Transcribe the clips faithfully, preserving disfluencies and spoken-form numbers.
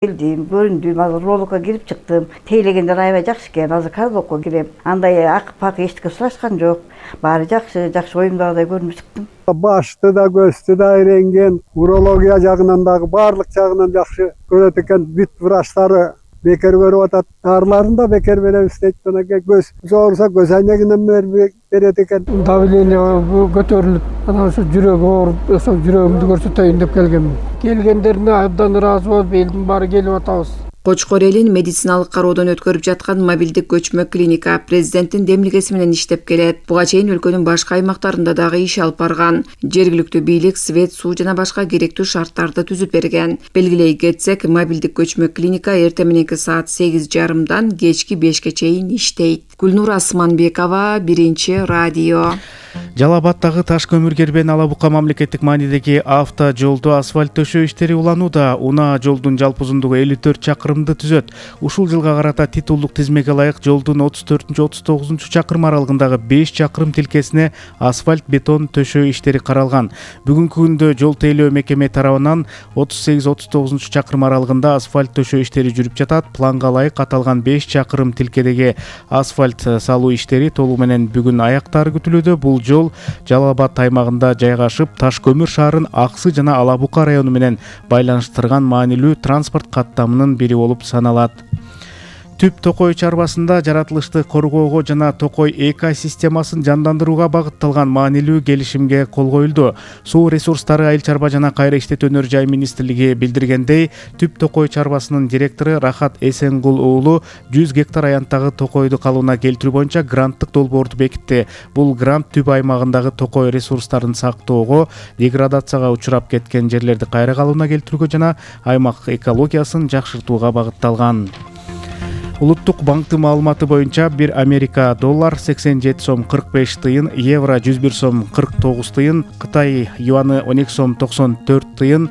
Келдим, көрүндүм, азыр роликко кирип чыктым. Тейлегендер аябай жакшы экен. Азыр кардокко кирем. Андай акы-пак эчтеке сурашкан жок. Баары жакшы, жакшы оюмдагыдай көрүнүп чыктым. Башты да, көздү да иренген, урология жагынан дагы баардык жагынан жакшы көрөт экен. Бүт врачтары бекер көрүп атат. Дарыларын да бекер беребиз дейт. Анан көз ооруса көз айнегинен берет экен. Давление көтөрүлүп, анан ошо жүрөгү ооруп, ошо жүрөгүмдү көрсөтөйүн деп келгенмин. Келгендерине абдан ыраазы болуп, элдин баары келип атабыз. Кочкор элин медициналык кароодон өткөрүп жаткан мобилдик көчмө клиника президенттин демилгеси менен иштеп келет. Буга чейин өлкөнүн башка аймактарында дагы иш алып барган. Жергиликтүү бийлик свет, суу жана башка керектүү шарттарды түзүп берген. Белгилей кетсек, мобилдик көчмө клиника эртең мененки саат сегиз жарымдан кечки бешке чейин иштейт. Гүлнур Асманбекова, Биринчи радио. Жалал Абаддагы таш көмүр кербен Ала Бука мамлекеттик маанидеги авто жолдо асфальт төшөө иштери уланууда. Унаа жолдун жалпы узундугу элүү төрт чакырымды түзөт. Ушул жылга карата титулдук тизмеге ылайык жолдун отуз төртүнчү отуз тогузунчу чакырым аралыгындагы беш чакырым тилкесине асфальт бетон төшөө иштери каралган. Бүгүнкү күндө жол тейлөө мекеме тарабынан отуз сегиз отуз тогузунчу чакырым аралыгында асфальт төшөө иштери жүрүп жатат. Планга ылайык аталган беш чакырым тилкедеги асфальт салуу иштери толугу менен бүгүн аяктары күтүлүүдө. Бул жол Жалал Абад аймагында жайгашып, Таш көмүр шаарын Аксы жана Ала Бука району менен байланыштырган маанилүү транспорт каттамынын бири болуп саналат. Түп Токой чарбасында жаратылышты коргоого жана Токой экосистемасын жандандырууга багытталган маанилүү келишимге кол коюлду. Суу ресурстары, айыл чарба жана кайра иштетүү жай министрлиги билдиргендей, Түп Токой чарбасынын директору Рахат Эсенгул уулу жүз гектар аянттагы токойду калыбына келтирүү боюнча гранттык долбоорду бекитти. Бул грант Түп аймагындагы токой ресурстарын сактоого, деградацияга учурап кеткен жерлерди кайра калыбына келтирүүгө жана аймак экологиясын жакшыртууга багытталган. Улуттук банктын маалыматы боюнча бир Америка доллар сексен жети сом кырк беш тыйын, евро жүз бир сом кырк тогуз тыйын, Кытай юаны он эки сом токсон төрт тыйын,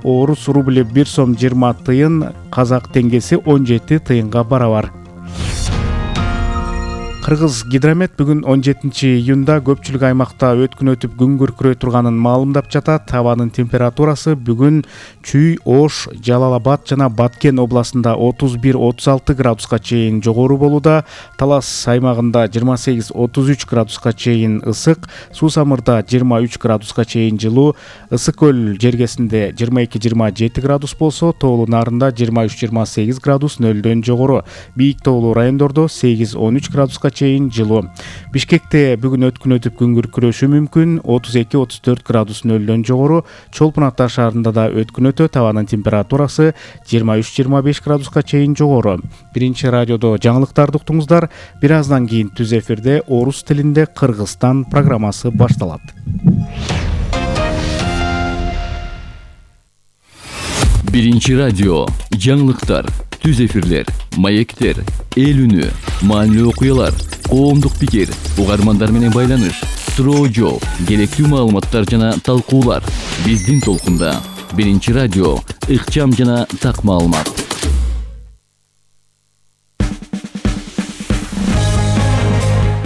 орус рубли бир сом жыйырма тыйын, казак теңгеси он жети тыйынга барабар. Кыргыз гидромет бүгүн он жетинчи июнда көпчүлүк аймакта өткүн өтүп күн күркүрөй турганын маалымдап жатат. Абанын температурасы бүгүн Чүй, Ош, Жалал Абад жана Баткен областында отуз бир отуз алты градуска чейин жогору болууда. Талас аймагында жыйырма сегиз отуз үч градуска чейин ысык, Суу Самырда жыйырма үч градуска чейин жылуу, Ысык көл жергесинде жыйырма эки жыйырма жети градус болсо, Тоолуу Нарында жыйырма үч жыйырма сегиз градус нөлдөн жогору. Бийик тоолуу райондордо сегиз он үч градуска чейин жылуу. Бишкекте бүгүн өткүн өтүп күн күркүрөшү мүмкүн, отуз эки отуз төрт градус нөлдөн жогору. Чолпон Ата шаарында да өткүн өтөт, абанын температурасы жыйырма үч жыйырма беш градуска чейин жогору. Биринчи радиодо жаңылыктарды уктуңуздар. Бир аздан кийин түз эфирде орус тилинде Кыргызстан программасы башталат. Биринчи радио жаңылыктар, түз эфирлер, маектер, эл үнү, маанилүү окуялар, коомдук пикир, угармандар менен байланыш, суроо жооп, керектүү маалыматтар жана талкуулар. Биздин толкунда Биринчи радио, ыкчам жана так маалымат.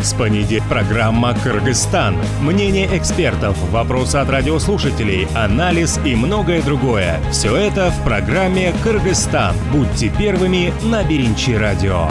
С понедельника программа «Кыргызстан». Мнение экспертов, вопросы от радиослушателей, анализ и многое другое. Все это в программе «Кыргызстан». Будьте первыми на Биринчи радио.